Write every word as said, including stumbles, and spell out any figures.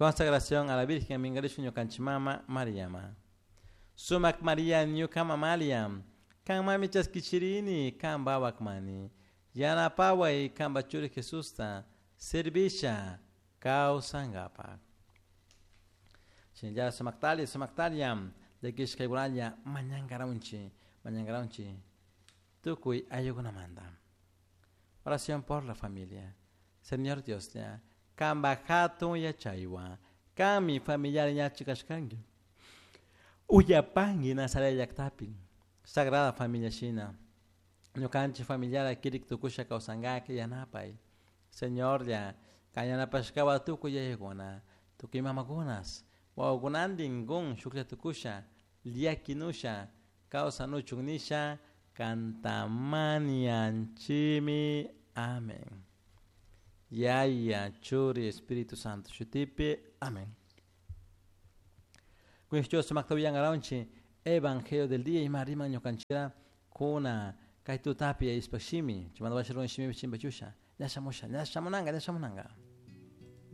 Consagración a la Virgen mingarishun ñukanchik mama Mariama. Sumak Maria ñuka mamalia, kanmami chaskichirini kanpa wakmani. Yanapaway kanpa churi Jesusta servisha kawsankapak. Shinallara sumaktalla sumaktalla llakishkaykunalla mañankaranchik mañankaranchik tukuy ayllukunamanta. Oración por la familia. Señor Dios, ya, kanpa hatun yachaywan, kanmi familiar yachik kashkanki. Uyapanki Nazaret llaktapi, Sagrada Familia shina. Ñukanchik familiar kirik tukusha kawsankak yanapay. Señor ya, kan yanapashkawa tukuy yayakuna, tukuy mamakunas, wawakunantin kun shuklla tukusha, llakinusha, kawsanuchun nisha, kantamanianchimi. Amén. Yaya, Churi, Espíritu Santo, shutipi. Amén. Kushcho sumakta uyankaranchik Evangelio del día ima riman ñukanchikta kuna kay tutapi ispashimi, chimanda washirun shimi chimbachusha, ña shamusha, ña shamunanga, ña shamunanga.